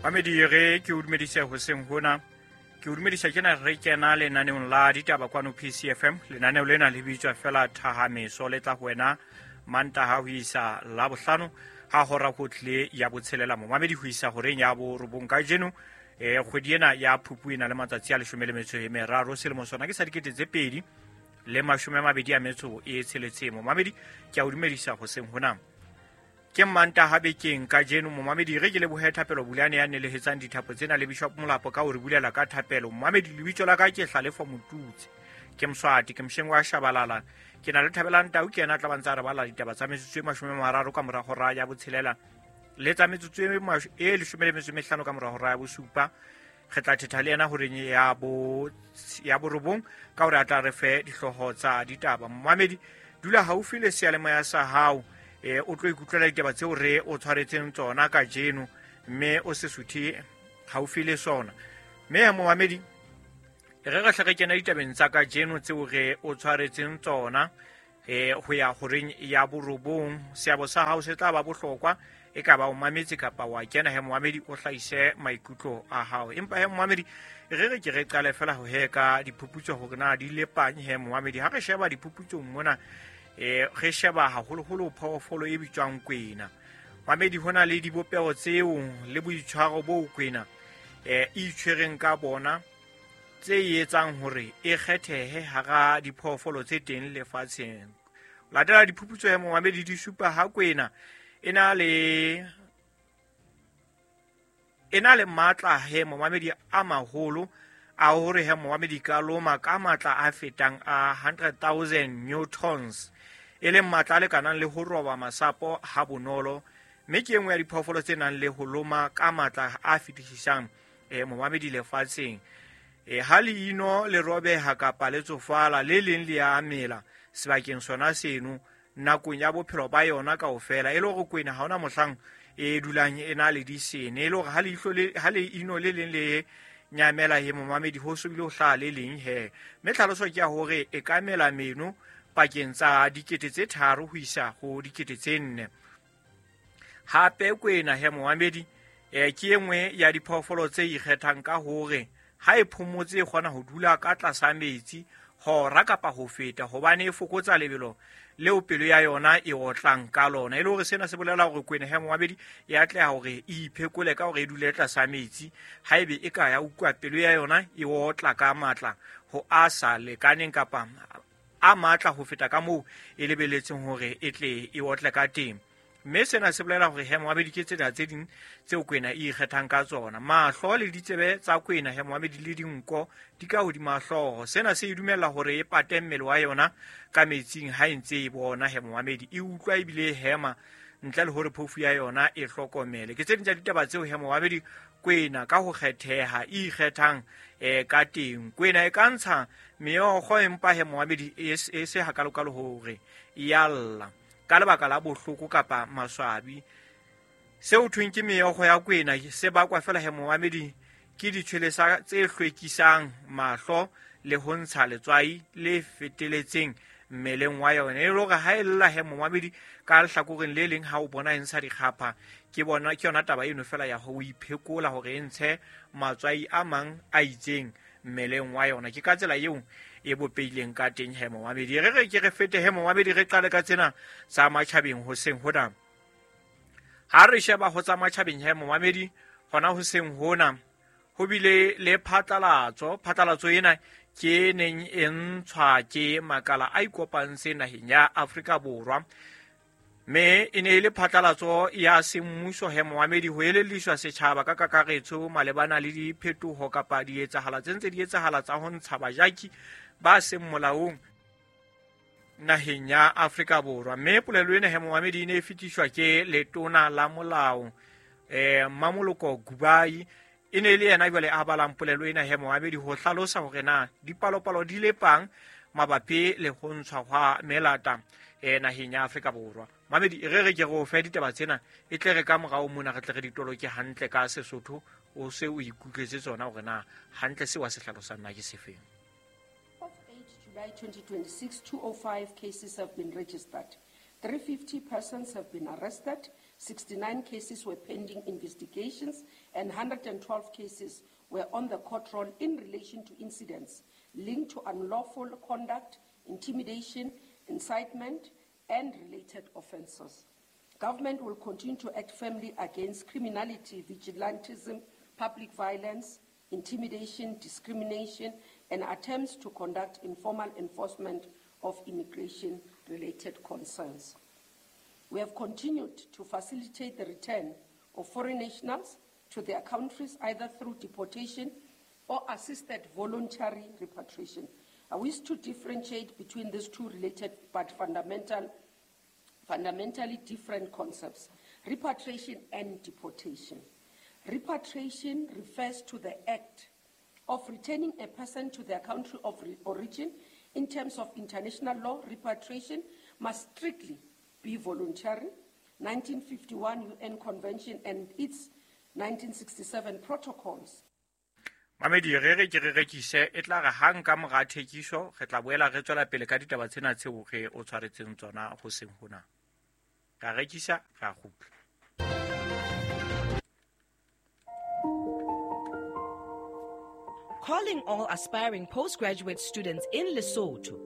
Mamedi, re ke o dumedise hoseng hona. Ke o dumedisa tjena re kena lenaneong la ditaba kwano PCFM. Lenaneo lena le bitswa fela Thahameso, le tla ho wena Mantaha ho isa Labohlano ha hora ho tlile ya botshelela, momamedi, ho isa horeng ya borobong. Kajeno kgwedi ena ya Phupu e na le matsatsi a 13, selemo sona ke sa 2026. Momamedi, ke a o dumedisa hoseng hona. Ke Mantaha bekeng kajeno, momamedi. Re ke lebohe Thapelo Bulane ya nelehetsang dithapo tsena le Bishop Molapo ka ho re bulela ka thapelo. Momamedi, lebitso la ka ke Hlalefo Motutse, ke Moswati, ke mosheng wa Shabalala. Ke na le Thabelang Tau, ke yena a tla bantsa re bala ditaba tsa metsotso e 30 ka mora hora ya botshelela le tsa metsotso e 15 ka mora hora ya bosupa. Re tla thetha le yena horeng ya borobong ka hore a tla re fe dihlooho tsa ditaba. Momamedi, dula haufi le seyalemoya sa hao, o tlo ikutlwela ditaba tseo re o tshwaretseng tsona kajeno, mme o se suthe haufi le sona. Mme momamedi, re re hle re kena ditabeng tsa kajeno tseo re o tshwaretseng tsona ho ya horeng ya borobong. Seabo sa hao se tla ba bohlokwa, e ka ba o mametse kapa wa kena he, momamedi, o hlahise maikutlo a hao. Empa he, momamedi, re re ke re qale fela ho he ka diphuputso hore na di lepang. He momamedi, ha re sheba diphuputsong mona, re sheba haholoholo phoofolo e bitswang kwena. Mamedi, ho na le dibopeho tseo le boitshwaro bo kwena e itshwereng ka bona tse etsang hore e kgethehe hara diphoofolo tse teng lefatsheng. Latela diphuputso ya momamedi, di supa ha kwena e na le matla he, momamedi, a maholo a hore he, momamedi, ka loma ka matla a fetang a 100,000 newtons, e leng matla a lekanang le ho roba masapo ha bonolo, mme ke e nngwe ya diphoofolo tse nang le ho loma ka matla a fetisisang, momamedi, lefatsheng. Ha leino le robeha kapa le tsofala, le leng le ya mela sebakeng sona seno nakong ya bophelo ba yona kaofela, e le hore kwena ha ona mohlang e dulang e na le disene, e le hore ha leino le leng le nyamela he, momamedi, ho so bile ho hlaha le leng he. Mme tlhaloso ke ya hore e ka mela meno pakeng tsa 3000 ho isa ho 4000. Hape kwena he, momamedi, ke e nngwe ya diphoofolo tse ikgethang ka hore ha e phomotse e kgona ho dula ka tlasa metsi hora kapa ho feta, hobane e fokotsa lebelo leo pelo ya yona e otlang ka lona. E le hore sena se bolela hore kwena he, momamedi, e atleha hore e iphekole ka hore e dule tlasa metsi ha ebe e ka ya utlwa pelo ya yona e otla ka matla ho a sa lekaneng kapa a matla ho feta ka moo e lebeletseng hore e tle e otle ka teng. Mme sena se bolela hore he, momamedi, ke tsena tse ding tseo kwena e ikgethang ka tsona. Mahlo le ditsebe tsa kwena he, momamedi, le dinko di ka hodima hlooho. Sena se e dumella hore e pate mmele wa yona ka metsing ha e ntse e bona he, momamedi, e utlwa ebile e hema ntle le hore phofu ya yona e hlokomele. Ke tse ding tsa ditaba tseo he, momamedi, kwena ka ho kgetheha e ikgethang ka teng. Kwena e ka ntsha meokgo, empa he, momamedi, e se hakalokalo hore e ya lla ka lebaka la bohloko kapa maswabi. Seo thweng ke meokgo ya kwena se bakwa fela he, momamedi, ke ditshwelesa tse hlwekisang mahlo le ho ntsha letswai le feteletseng mmeleng wa yona. E le hore ha e lla he, momamedi, ka lehlakoreng le leng ha o bona e ntsha dikgapha, ke bona ke yona taba eno fela ya ho iphekola hore e ntshe matswai a mang a itseng mmeleng wa yona. Ke ka tsela eo e bopeileng ka teng he, momamedi. Re re ke re fete he, momamedi, re qale ka tsena tsa matjhabeng hoseng hona. Ha re sheba ho tsa matjhabeng he, momamedi, hona hoseng hona ho bile le phatlalatso. Phatlalatso ena ke neng e ntshwa ke makala a ikopantseng naheng ya Afrika Borwa, mme e ne e le phatlalatso ya semmuso he, momamedi, ho elelliswa setjhaba ka kakaretso malebana le diphetoho kapa dietsahala tse ntse di etsahala tsa ho ntsha bajaki ba seng molaong naheng ya Afrika Borwa. Mme polelo ena he, momamedi, e ne e fetiswa ke letona la molao, Mmamoloko Kubayi. E ne e le yena jwale a balang polelo ena he, momamedi, ho hlalosa hore na dipalopalo di lepang mabapi le ho ntshwa hwa melata naheng ya Afrika Borwa. Mamedi, re re ke re o fe ditaba tsena, e tle re ka morao mona re tle re di toloke hantle ka Sesotho, o se o ikutlwetse tsona hore na hantle seo a se hlalosang na ke sefeng. Of 8 July 2026, 205 cases have been registered. 350 persons have been arrested. 69 cases were pending investigations, and 112 cases were on the court roll in relation to incidents linked to unlawful conduct, intimidation, incitement, and related offences. Government will continue to act firmly against criminality, vigilantism, public violence, intimidation, discrimination, and attempts to conduct informal enforcement of immigration-related concerns. We have continued to facilitate the return of foreign nationals to their countries, either through deportation or assisted voluntary repatriation. I wish to differentiate between these two related but fundamentally different concepts, repatriation and deportation. Repatriation refers to the act of returning a person to their country of origin. In terms of international law, repatriation must strictly be voluntary. 1951 UN Convention and its 1967 protocols. Mamedi re re ke re rekise e tla re hang ka mora thekiso re tla boela re tswela pele ka ditaba tsena tseo re o tshwaretseng tsona ho seng hona. Ra rekisa ra kgutla. Calling all aspiring postgraduate students in Lesotho.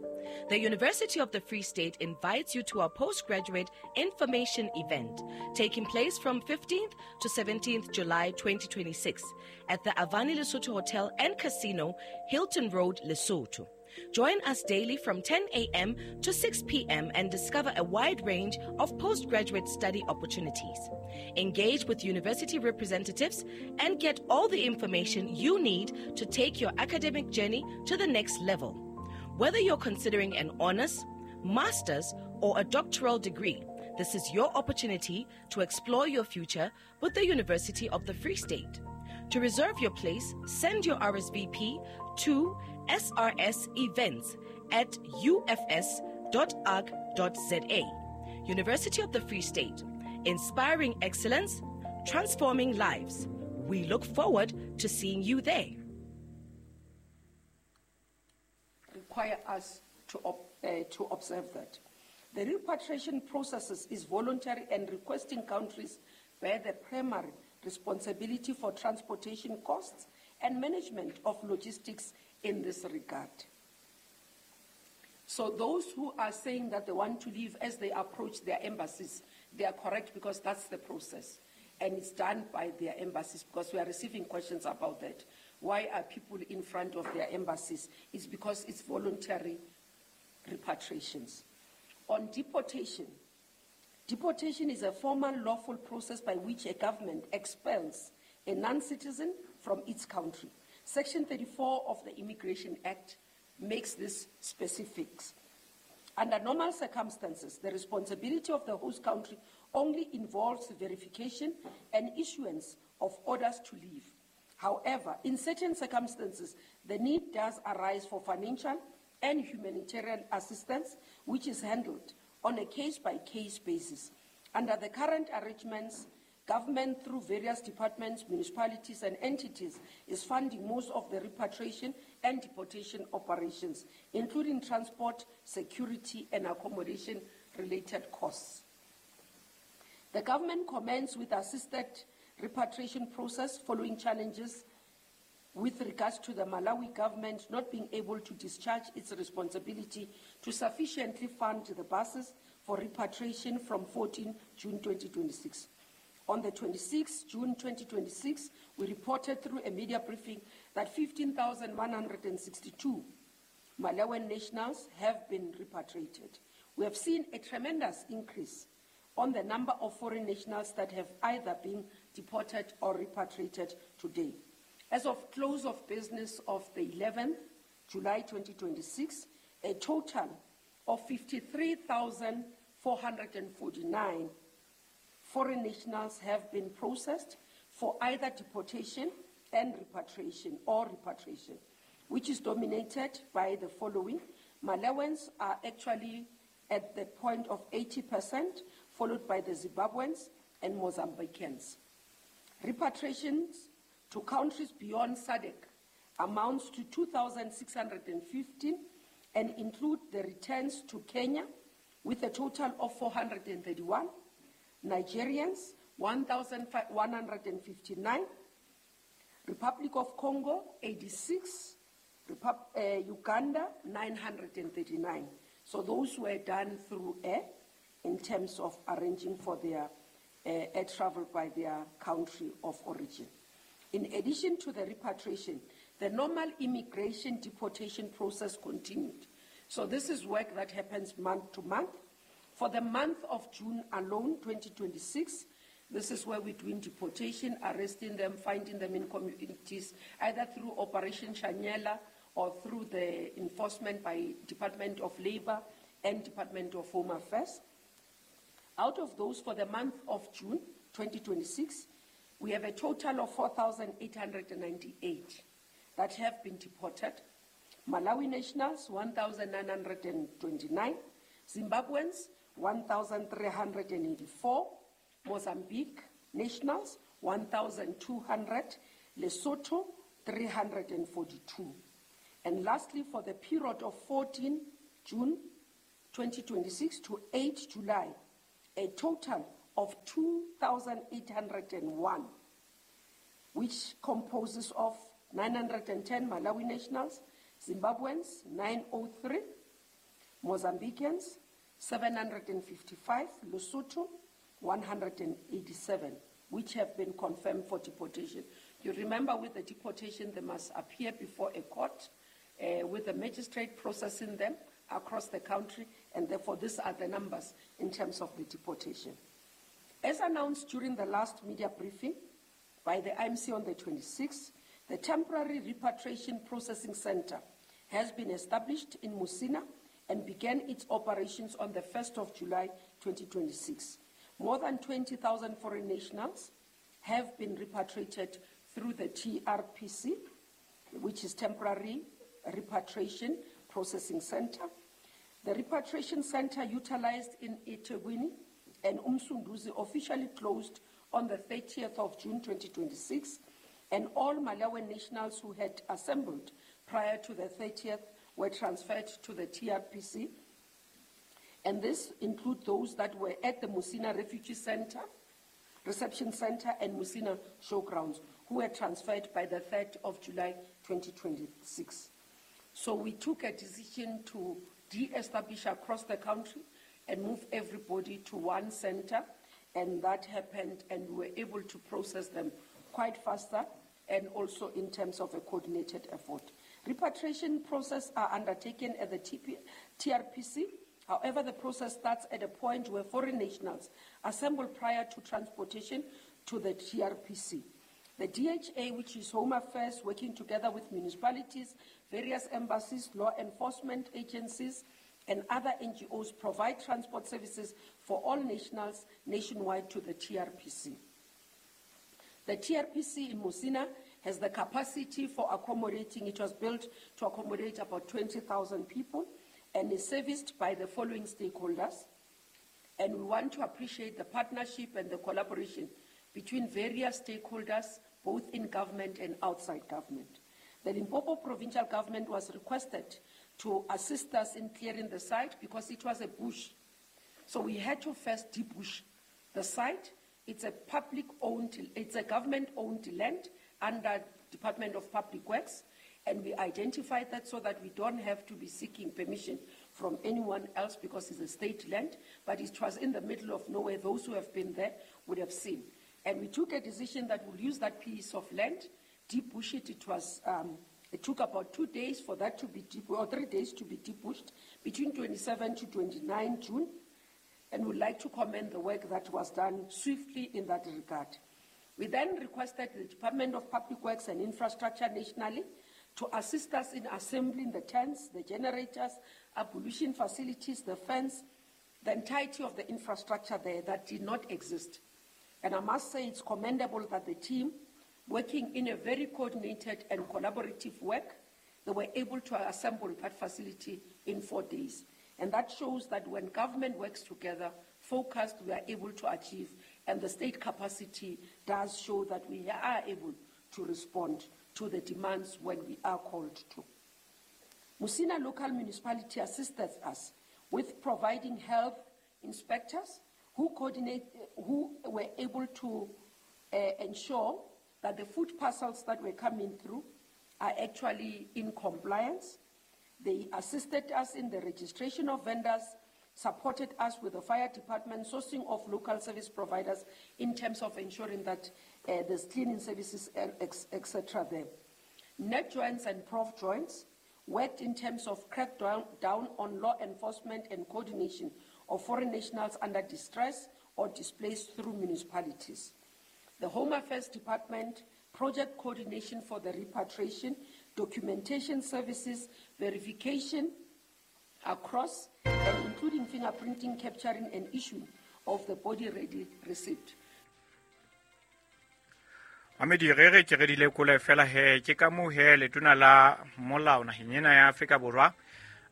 The University of the Free State invites you to our postgraduate information event taking place from 15th to 17th July 2026 at the Avani Lesotho Hotel and Casino, Hilton Road, Lesotho. Join us daily from 10 a.m. to 6 p.m. and discover a wide range of postgraduate study opportunities. Engage with university representatives and get all the information you need to take your academic journey to the next level. Whether you're considering an honors, master's, or a doctoral degree, this is your opportunity to explore your future with the University of the Free State. To reserve your place, send your RSVP to srsevents@ufs.org.za. University of the Free State, inspiring excellence, transforming lives. We look forward to seeing you there. Require us to observe that. The repatriation processes is voluntary and requesting countries bear the primary responsibility for transportation costs and management of logistics in this regard. So those who are saying that they want to leave as they approach their embassies, they are correct because that's the process. And it's done by their embassies because we are receiving questions about that. Why are people in front of their embassies? It's because it's voluntary repatriations. On deportation, deportation is a formal lawful process by which a government expels a non-citizen from its country. Section 34 of the Immigration Act makes this specifics. Under normal circumstances, the responsibility of the host country only involves verification and issuance of orders to leave. However, in certain circumstances, the need does arise for financial and humanitarian assistance, which is handled on a case-by-case basis. Under the current arrangements, government through various departments, municipalities and entities is funding most of the repatriation and deportation operations, including transport, security and accommodation related costs. The government commenced with assisted repatriation process following challenges with regards to the Malawi government not being able to discharge its responsibility to sufficiently fund the buses for repatriation from 14 June 2026. On the 26th June 2026, we reported through a media briefing that 15,162 Malawian nationals have been repatriated. We have seen a tremendous increase on the number of foreign nationals that have either been deported or repatriated today. As of close of business of the 11th July 2026, a total of 53,449 foreign nationals have been processed for either deportation and repatriation or repatriation, which is dominated by the following. Malawians are actually at the point of 80%, followed by the Zimbabweans and Mozambicans. Repatriations to countries beyond SADC amounts to 2,615 and include the returns to Kenya with a total of 431, Nigerians, 1,159. Republic of Congo, 86. Uganda, 939. So those were done through air in terms of arranging for their air travel by their country of origin. In addition to the repatriation, the normal immigration deportation process continued. So this is work that happens month to month. For the month of June alone, 2026, this is where we're doing deportation, arresting them, finding them in communities, either through Operation Shanela or through the enforcement by Department of Labor and Department of Home Affairs. Out of those, for the month of June 2026, we have a total of 4,898 that have been deported. Malawi nationals, 1,929. Zimbabweans, 1,384. Mozambique nationals, 1,200. Lesotho, 342. And lastly, for the period of 14 June 2026 to 8 July, a total of 2,801, which composes of 910 Malawi nationals, Zimbabweans, 903, Mozambicans, 755, Lesotho, 187, which have been confirmed for deportation. You remember with the deportation, they must appear before a court with the magistrate processing them across the country, and therefore these are the numbers in terms of the deportation. As announced during the last media briefing by the IMC on the 26th, the Temporary Repatriation Processing Center has been established in Musina and began its operations on the 1st of July 2026. More than 20,000 foreign nationals have been repatriated through the TRPC, which is Temporary Repatriation Processing Center. The repatriation center utilized in eThekwini and Umsunduzi officially closed on the 30th of June 2026, and all Malawian nationals who had assembled prior to the 30th were transferred to the TRPC. And this includes those that were at the Musina Refugee Center, Reception Center, and Musina Showgrounds, who were transferred by the 3rd of July 2026. So we took a decision to de-establish across the country and move everybody to one center, and that happened, and we were able to process them quite faster, and also in terms of a coordinated effort. Repatriation process are undertaken at the TRPC. However, the process starts at a point where foreign nationals assemble prior to transportation to the TRPC. The DHA, which is Home Affairs, working together with municipalities, various embassies, law enforcement agencies, and other NGOs, provide transport services for all nationals nationwide to the TRPC. The TRPC in Musina has the capacity for accommodating, it was built to accommodate about 20,000 people, and is serviced by the following stakeholders. And we want to appreciate the partnership and the collaboration between various stakeholders, both in government and outside government. The Limpopo provincial government was requested to assist us in clearing the site because it was a bush. So we had to first debush the site. It's a public-owned, it's a government-owned land under Department of Public Works, and we identified that so that we don't have to be seeking permission from anyone else because it's a state land, but it was in the middle of nowhere. Those who have been there would have seen. And we took a decision that we'll use that piece of land, debush it. It was, it took about 2 days for that to be or 3 days to be debushed, between 27 to 29 June. And we'd like to commend the work that was done swiftly in that regard. We then requested the Department of Public Works and Infrastructure nationally to assist us in assembling the tents, the generators, ablution facilities, the fence, the entirety of the infrastructure there that did not exist. And I must say it's commendable that the team, working in a very coordinated and collaborative work, they were able to assemble that facility in 4 days. And that shows that when government works together, focused, we are able to achieve, and the state capacity does show that we are able to respond to the demands when we are called to. Musina Local Municipality assisted us with providing health inspectors who were able to ensure that the food parcels that were coming through are actually in compliance. They assisted us in the registration of vendors, supported us with the fire department, sourcing of local service providers in terms of ensuring that there's cleaning services, etc. there. NatJoints and ProfJoints worked in terms of crackdown down on law enforcement and coordination of foreign nationals under distress or displaced through municipalities. The Home Affairs Department, project coordination for the repatriation, documentation services, verification across and including fingerprinting, capturing and issuing of the body ready receipt. Mamedi re re ke re di lekole fela he ke ka moo he letona la molao naheng ena ya Afrika Borwa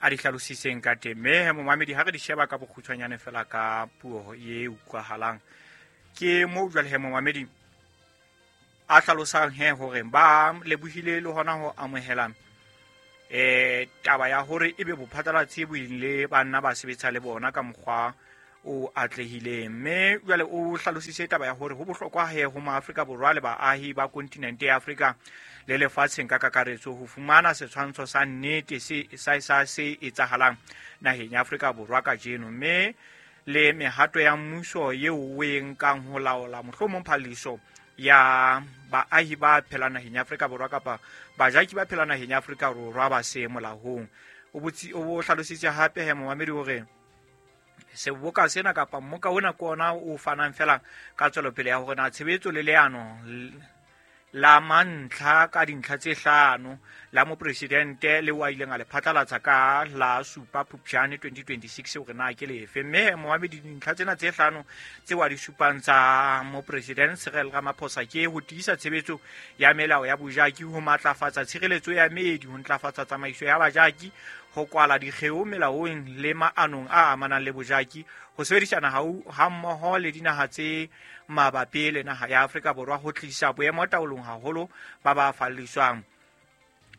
a di hlalositseng ka teng. Mme he momamedi ha re di sheba ka bokgutshwanyane fela ka puo e utlwahalang, ke moo jwale he momamedi a hlalosang he hore ba lebohile le hona ho amohela taba ya hore ebe bophatlalatsi bo ile ba nna ba sebetsa le bona ka mokgwa o atlehileng. Mme jwale o hlalositse taba ya hore ho bohlokwa he ho maAfrika Borwa le baahi ba kontinente ya Afrika le lefatsheng ka kakaretso ho fumana setshwantsho sa nnete se sa se etsahalang naheng ya Afrika Borwa kajeno, mme le mehato ya mmuso eo o e nkang ho laola mohlomong phaliso ya baahi ba phelang naheng ya Afrika Borwa kapa bajaki ba phelang naheng ya Afrika Borwa ba se molaong. O hlalositse hape he momamedi hore seboka sena kapa mmoka ona ke ona o fanang fela ka tswelopele ya hore na tshebetso le leano la mantlha ka dintlha tse hlano la mopresidente le wa ileng a le phatlalatsa ka la 7 Phupjane 2026 hore na ke lefe. Mme momamedi dintlha tsena tse hlano tse wa di supang tsa mopresidente Cyril Ramaphosa ke ho tiisa tshebetso ya melao ya bojaki, ho matlafatsa tshireletso ya meedi, ho ntlafatsa tsamaiso ya bajaki, ho kwala dikgeo melaong le maanong a amanang le bojaki, ho sebedisana ha mmoho le dinaha tse mabapi le naha ya Afrika Borwa ho tlisa boemo taolong haholo ba ba falliswang.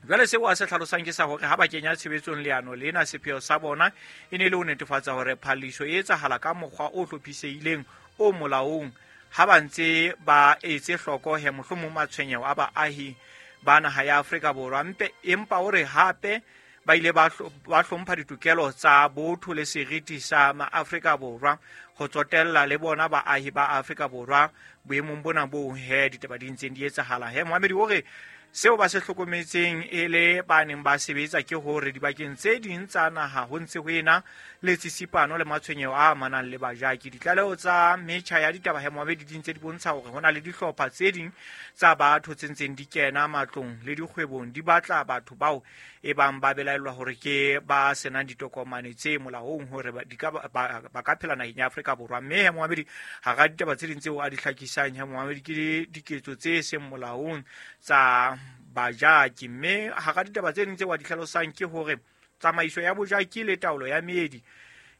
Jwale seo a se hlalosang ke sa hore ha ba kenya tshebetsong leano lena, sepheo sa bona e ne le ho netefatsa hore phalliso e etsahala ka mokgwa o hlophisehileng o molaong, ha ba ntse ba etse hloko he mohlomong matshwenyeho a baahi ba naha ya Afrika Borwa. Empa o re hape ba ile ba hlompha ditokelo tsa botho le seriti sa maAfrika Borwa ho tsotella le bona baahi ba Afrika Borwa boemong bona bo he ditaba di ntseng di etsahala. He momamedi o re seo ba se hlokometseng e le ba neng ba sebetsa ke hore dibakeng tse ding tsa naha ho ntse ho ena le tsitsipano le matshwenyeho a amanang le bajaki. Ditlaleho tsa metjha ya ditaba he momamedi di ntse di bontsha hore ho na le dihlopha tse ding tsa batho tse ntseng di kena matlong le dikgwebong di batla batho bao e bang ba belaellwa hore ke ba senang ditokomane tse molaong hore ba ka phela naheng ya Afrika Borwa. Mme he momamedi hara ditaba tse ding tseo a di hlakisang he momamedi ke diketso tse seng molaong tsa bajaki. Mme hara ditaba tse ding tseo a di hlalosang ke hore tsamaiso ya bojaki le taolo ya meedi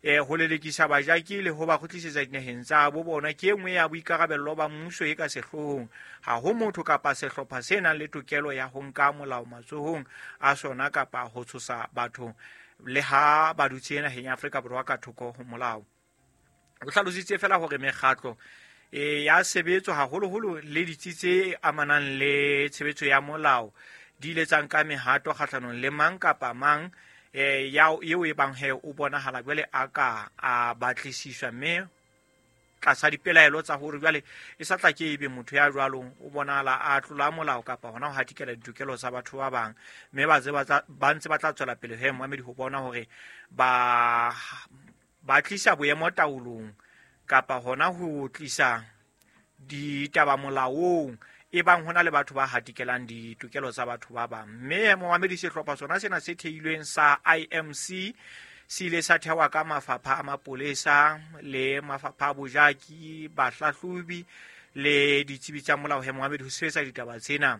ho lelekisa bajaki le ho ba kgutlisetsa dinaheng tsa bo bona ke e nngwe ya boikarabello ba mmuso e ka sehloohong. Ha ho motho kapa sehlopha se nang le tokelo ya ho nka molao matsohong a sona kapa ho tshosa batho le ha ba dutse naheng ya Afrika Borwa ka thoko ho molao. O hlalositse fela hore mekgatlo ya sebetso haholoholo le ditsi tse amanang le tshebetso ya molao di ile tsa nka mehato kgahlanong le mang kapa mang eo e bang he o bonahala jwale a ka a batlisiswa, mme tlasa dipelaelo tsa hore jwale e sa tla ke ebe motho ya jwalo o bonahala a tlola molao kapa hona ho hatikela ditokelo tsa batho ba bang. Mme ba ntse ba tla tswela pele he momamedi ho bona hore ba tlisa boemo taolong kapa hona ho tlisa ditaba molaong e bang hona le batho ba hatikelang ditokelo tsa batho ba bang. Mme momamedi sehlopha sona sena se theilweng sa IMC se ile sa thewa ka mafapha a mapolesa le mafapha a bojaki, bahlahlobi le ditsebi tsa molao he momamedi ho sebetsa ditaba tsena.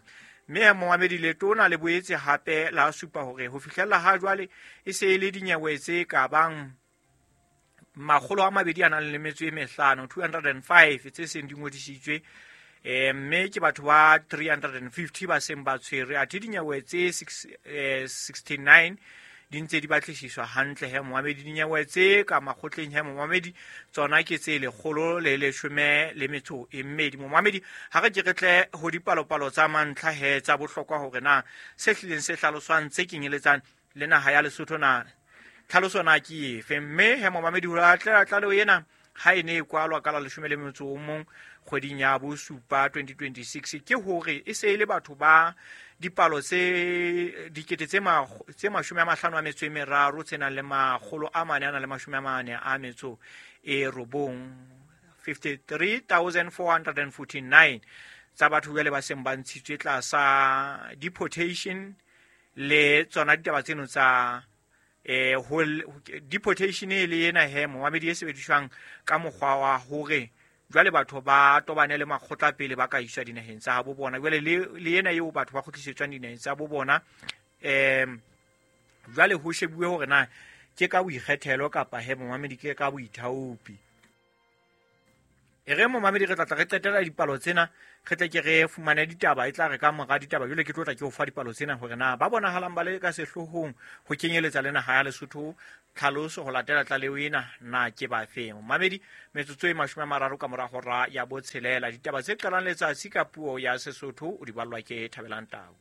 Mme momamedi letona le boetse hape la supa hore ho fihlella ha jwale e se e le dinyewe tse ka bang 205 205 tse seng di ngodisitswe, mme ke batho ba 350 ba seng ba tshwerwe, athe dinyewe tse 69 di ntse di batlisiswa hantle he momamedi. Dinyewe tse ka makgotleng he momamedi tsona ke tse 112. Momamedi, ha re ke re tle ho dipalopalo tsa mantlha he tsa bohlokwa hore na se hlileng se hlaloswang tse kenyeletsang le naha ya Lesotho na tlhaloso na ke efe. Mme he momamedi, ho latela tlaleho ena ha e ne e kwalwa ka la 11 kgweding ya bosupa 2026, ke hore e se e le batho ba dipalo tse dikete tse 53 tse nang le 449, 53,449 tsa batho jwale ba seng ba ntshitswe tlasa deportation le tsona ditaba tseno tsa deportation e le ena he momamedi e sebediswang ka mokgwa wa hore jwale batho ba tobane le makgotla pele ba ka iswa dinaheng tsa bo bona. Jwale le ena eo batho ba kgutlisetswang dinaheng tsa bo bona, jwale ho shebuwe hore na ke ka boikgethelo kapa he momamedi ke ka boithaopi. E re momamedi, re tla re qetela dipalo tsena, re tle ke re fumane ditaba, e tla re ka mora ditaba jwale ke tlo tla ke o fa dipalo tsena hore na ba bonahalang ba le ka sehloohong ho kenyeletsa le naha ya Lesotho tlhaloso ho latela tlaleho ena na ke ba feng. Momamedi, metsotso e 30 ka mora hora ya 6, ditaba tse qalang letsatsi ka puo ya Sesotho o di ballwa ke Thabelang Tau.